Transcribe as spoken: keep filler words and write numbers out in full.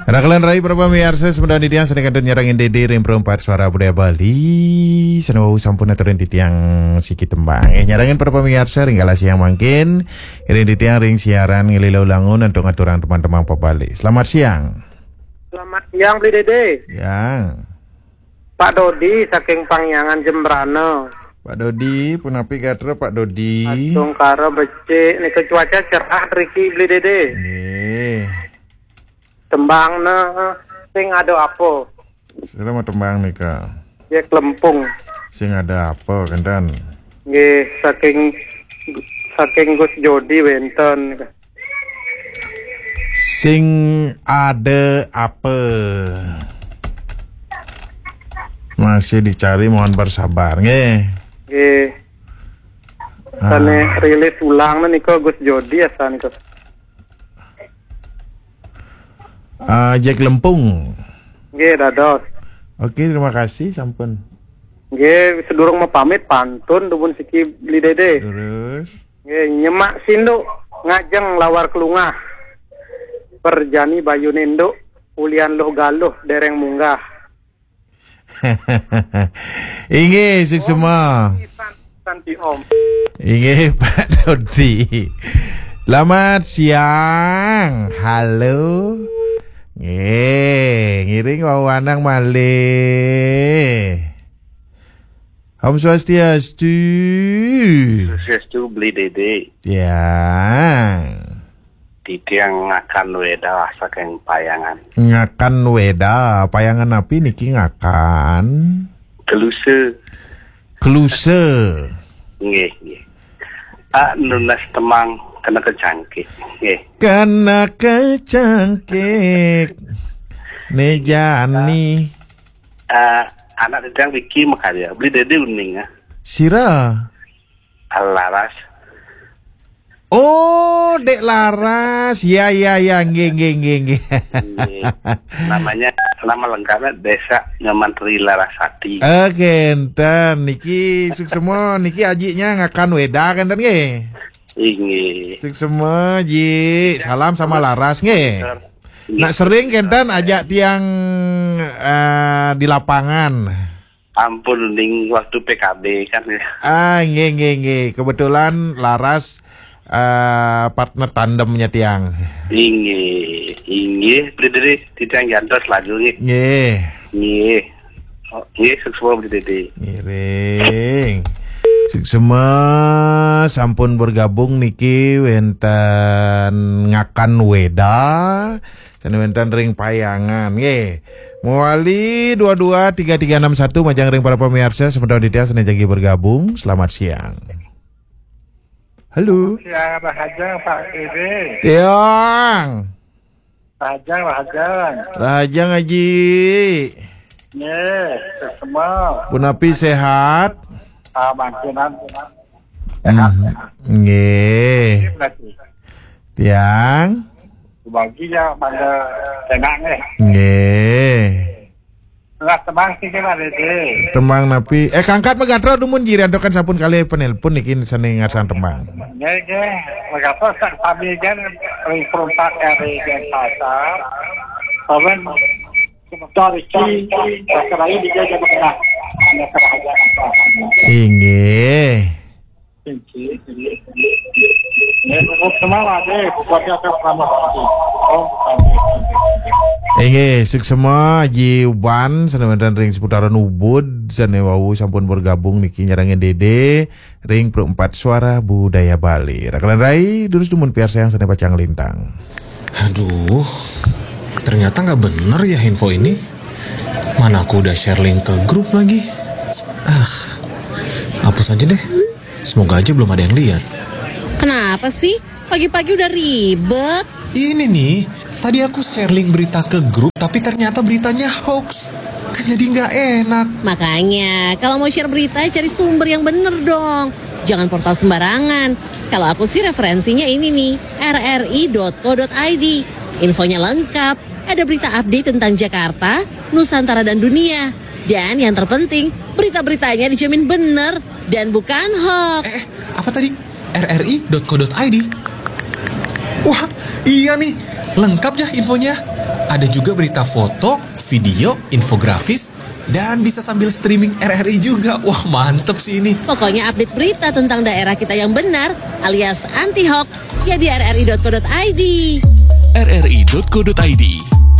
Rakalan rai para pamiarsa, sementara titiang sané kantun nyarengin Dédé ring Perempat Suara Budaya Bali, sané wau sampun aturin titiang siki tembang. Eh, nyarengin para pamiarsa ring kala siang mangkin, ring titiang ring siaran ngilu langun antuk ngaturang tembang-tembang pabali. Selamat siang. Selamat siang, Bli Dédé. Yang. Pak Dodi saking Pangyangan Jembrana. Pak Dodi, punapi gatra Pak Dodi? Astungkara becik, nika cuaca cerah riki, Bli Dédé. Nggih. Tembangna sing ada apa? Sira mau tembang nika. Jek Lempung. Sing ada apa, kenten? Nggih, saking, saking Gus Jodi wénten. Sing ada apa? Masih dicari, mohon bersabar, nggih. Nggih. Ah. Sané rilis ulang nika Gus Jodi asa nika. Ah, Jek Lempung. Nggih, dados. Oke, terima kasih, sampun. Nggih, sedurung mapamit pantun dumun siki Bli Dédé. Terus? Nggih, nyemak sinduk ngajeng lawar kelungah. Perjani bayu ninduk, ulian luh galuh dereng munggah. Inggih, suksma. Santi Om. Inggih, Pak Dodi. Selamat siang. Halo. Nggih, ngiring wawanang malih. Om Swastiastu. Swastiastu, Bli Dédé. Ya. Titiang Ngakan Weda saking Payangan. Ngakan Weda, Payangan napi niki Ngakan? Kelusa. Kelusa. Nggih, nggih. Ah, nunas tembang kena kecangkik. Nggih. Kena kecangkik. Né jani. Ah, anak titiang Vicky makarya. Bli Dédé uning, ah. Sira. Alaras. Oh, Dek Laras. Ya, ya, ya. Nggih, nggih, nggih, nggih. Nggih. Namanya, nama lengkapnya Desa Nyoman Tri Larasati. Oke, enten. Niki suksma, niki ajiknya Ngakan Weda, kan, enten, nggih? Inggih. Suksma, Ji. Salam sama Laras, nggih. Nggih. Nak sering kenten ajak tiang, eh, di lapangan. Ampun, ning waktu P K B kan ya. Ah, nggih, nggih, nggih. Kebetulan Laras, eh, partner tandemnya tiang. Inggih, inggih, Bli Dédé, titiang jantos lagu nggih. Nggih. Nggih. Oh, nggih, suksma Bli Dédé. Ngiring. Suksma sampun bergabung niki wénten Ngakan Weda. Sané wénten ring Payangan, nggih. Mawali dua dua tiga tiga enam satu, majeng ring para pamiarsa, sementara titiang sané jagi bergabung. Selamat siang. Halo. Siang, rahajeng, Pak Dédé. Tiang. Rahajeng, rahajeng. Rahajeng, Aji. Nggih, semua. Punapi sehat? Ah, mangkinan. Hmm. Nggih. Berarti. Tiang. Bagi ya pada enak nggih. Nggih. Lah, tembang sih, Pak Dédé. Tembang napi? Eh, kangkat magatra dumun, Ji, antukan sampun kalih penelpon niki sané ngarsan tembang. Nggih, nggih. Magatra sak sami kan ring Perumpak kari Denpasar. Pawen sebentar iki, Pasar Raya di Jawa Tengah. Hanya kerajaan apa? Inggih. Inggih, suksma Ji Uban, sané wénten ring seputaran Ubud, sané wau sampun bergabung niki nyarengin Dédé ring Perempat Suara Budaya Bali. Rakalan rai, durus dumun piarsayang sané pacang lintang. Aduh, ternyata nggak bener ya info ini. Mana aku udah share link ke grup lagi. Ah, hapus aja deh. Semoga aja belum ada yang lihat. Kenapa sih? Pagi-pagi udah ribet. Ini nih, tadi aku share link berita ke grup, tapi ternyata beritanya hoax. Kan jadi nggak enak. Makanya, kalau mau share berita, cari sumber yang bener dong. Jangan portal sembarangan. Kalau aku sih referensinya ini nih, R R I dot co dot I D. Infonya lengkap, ada berita update tentang Jakarta, Nusantara dan dunia. Dan yang terpenting, berita-beritanya dijamin bener dan bukan hoax. Eh, eh, apa tadi? R R I dot co dot I D. Wah, iya nih, lengkap ya infonya. Ada juga berita foto, video, infografis, dan bisa sambil streaming R R I juga. Wah, mantep sih ini. Pokoknya update berita tentang daerah kita yang benar alias anti hoax ya di rri.co.id. rri.co.id.